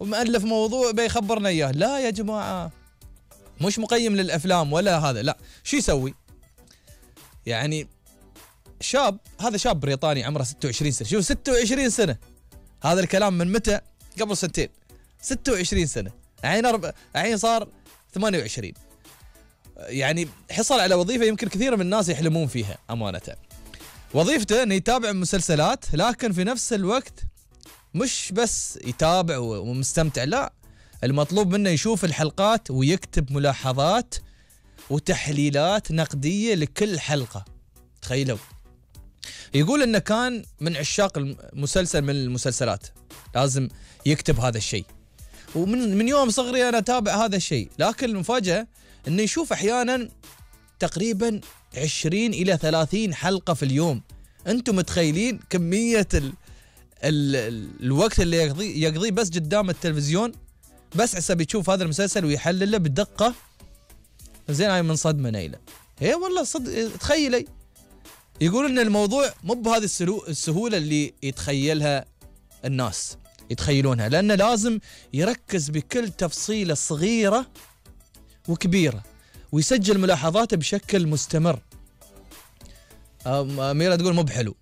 ومؤلف موضوع بيخبرنا اياه. لا يا جماعه، مش مقيم للافلام ولا هذا، لا. شو يسوي؟ يعني شاب، هذا شاب بريطاني عمره 26 سنه. شوف 26 سنه، هذا الكلام من متى؟ قبل سنتين. 26 سنه، الحين صار 28. يعني حصل على وظيفه يمكن كثير من الناس يحلمون فيها امانه. وظيفته انه يتابع مسلسلات، لكن في نفس الوقت مش بس يتابع ومستمتع، لا، المطلوب منه يشوف الحلقات ويكتب ملاحظات وتحليلات نقديه لكل حلقه. تخيلوا. يقول انه كان من عشاق المسلسل من المسلسلات، لازم يكتب هذا الشيء، ومن يوم صغري انا اتابع هذا الشيء. لكن المفاجأة انه يشوف احيانا تقريبا 20 الى 30 حلقة في اليوم. انتم متخيلين كمية الوقت اللي يقضيه بس قدام التلفزيون، بس حسب يشوف هذا المسلسل ويحلله بدقة. زين، هاي من صدمة نيلة. هي والله تخيلي. يقول ان الموضوع مو بهذه السهولة اللي يتخيلها الناس يتخيلونها، لأنه لازم يركز بكل تفصيلة صغيرة وكبيرة، ويسجل ملاحظاته بشكل مستمر. أميرة تقول مو بحلو،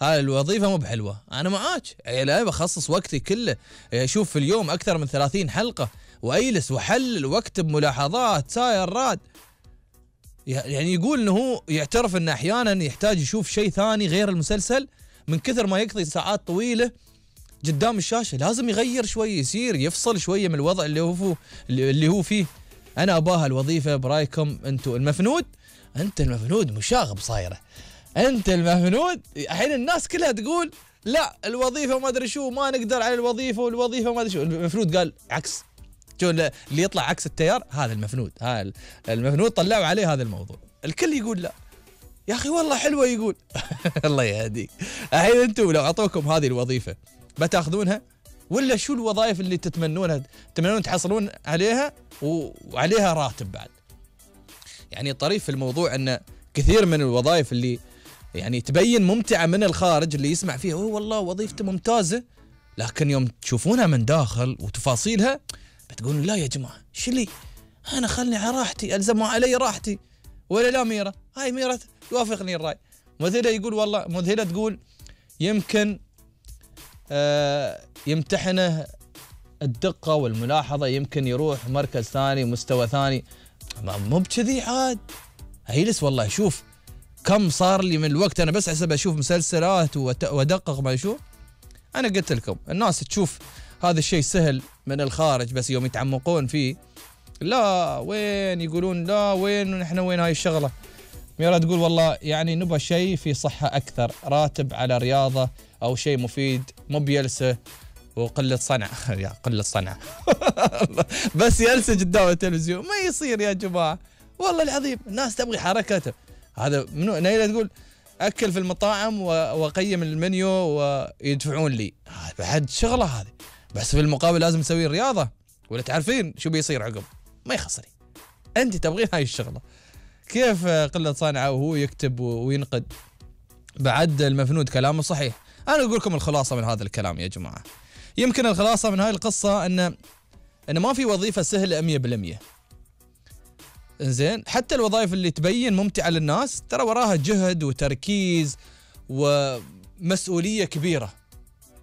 هاي الوظيفة مو بحلوة. أنا معاك، لا بخصص وقتي كله، أشوف في اليوم أكثر من 30 حلقة، وأجلس وأحلل وأكتب ملاحظات ساير راد. يعني يقول إنه هو يعترف إنه أحيانا يحتاج يشوف شيء ثاني غير المسلسل من كثر ما يقضي ساعات طويلة قدام الشاشة. لازم يغير شوي، يصير يفصل شوية من الوضع اللي هو فيه. أنا أباها الوظيفة برايكم أنتوا المفنود. أنت المفنود مشاغب صايرة، أنت المفنود. الحين الناس كلها تقول لا الوظيفة ما أدري شو، ما نقدر على الوظيفة، والوظيفة ما أدري شو. المفنود قال عكس. شو اللي يطلع عكس التيار؟ هذا المفنود. هذا المفنود طلعوا عليه هذا الموضوع. الكل يقول لا يا أخي والله حلوة. يقول الله يهديك. الحين أنتوا لو أعطوكم هذه الوظيفة بتاخذونها ولا شو الوظائف اللي تتمنون تحصلون عليها وعليها راتب بعد؟ يعني الطريف في الموضوع أن كثير من الوظائف اللي يعني تبين ممتعة من الخارج، اللي يسمع فيها والله وظيفته ممتازة، لكن يوم تشوفونها من داخل وتفاصيلها بتقولون لا يا جماعة شو لي، أنا خلني على راحتي، ألزموا علي راحتي. ولا لا ميرة؟ هاي ميرة توافقني الرأي. مذهلة يقول والله، مذهلة تقول يمكن يمتحنه الدقة والملاحظة، يمكن يروح مركز ثاني مستوى ثاني. مو بكذي عاد. هيلس والله شوف كم صار لي من الوقت أنا بس حسب أشوف مسلسلات وأدقق ما أشوف. أنا قلت لكم الناس تشوف هذا الشيء سهل من الخارج، بس يوم يتعمقون فيه لا وين، يقولون لا وين نحن، وين هاي الشغلة. ميرا تقول والله يعني نبغى شيء في صحة أكثر، راتب على رياضة أو شيء مفيد، مو بيلسة وقلة صنع. يا قلة صنع. بس يلسة قدام التلفزيون ما يصير يا جماعة، والله العظيم الناس تبغي حركته. هذا منو؟ نيلة تقول أكل في المطاعم وقيم المنيو ويدفعون لي. بعد شغلة هذه، بس في المقابل لازم تسوي رياضة، ولا تعرفين شو بيصير عقب؟ ما يخسري. أنت تبغين هاي الشغلة. كيف قلة صنعة وهو يكتب وينقد؟ بعد المفنود كلامه صحيح. أنا أقول لكم الخلاصة من هذا الكلام يا جماعة. يمكن الخلاصة من هاي القصة أن ما في وظيفة سهلة 100%. إنزين، حتى الوظائف اللي تبين ممتعة للناس ترى وراها جهد وتركيز ومسؤولية كبيرة.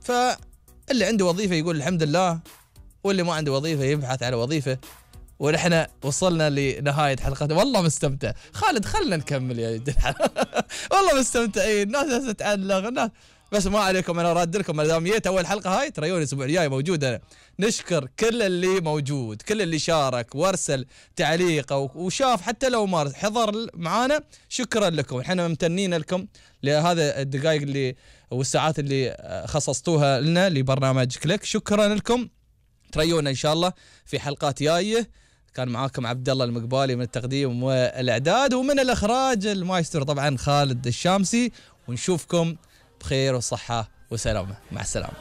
فاللي عنده وظيفة يقول الحمد لله، واللي ما عنده وظيفة يبحث على وظيفة. ونحن وصلنا لنهاية حلقتنا. والله مستمتع. خالد خلنا نكمل يا جدع. والله مستمتعين، الناس تتعلق الناس. بس ما عليكم، انا راد لكم ما دام جيت اول حلقه هاي، ترى يوم الاسبوع الجاي موجود. انا نشكر كل اللي موجود، كل اللي شارك وارسل تعليق وشاف، حتى لو ما حضر معانا. شكرا لكم، احنا ممتنين لكم لهذا الدقائق اللي والساعات اللي خصصتوها لنا لبرنامج كليك. شكرا لكم، تريونا ان شاء الله في حلقات جايه. كان معاكم عبد الله المقبالي من التقديم والاعداد، ومن الاخراج المايسترو طبعا خالد الشامسي. ونشوفكم بخير وصحة وسلامة. مع السلامة.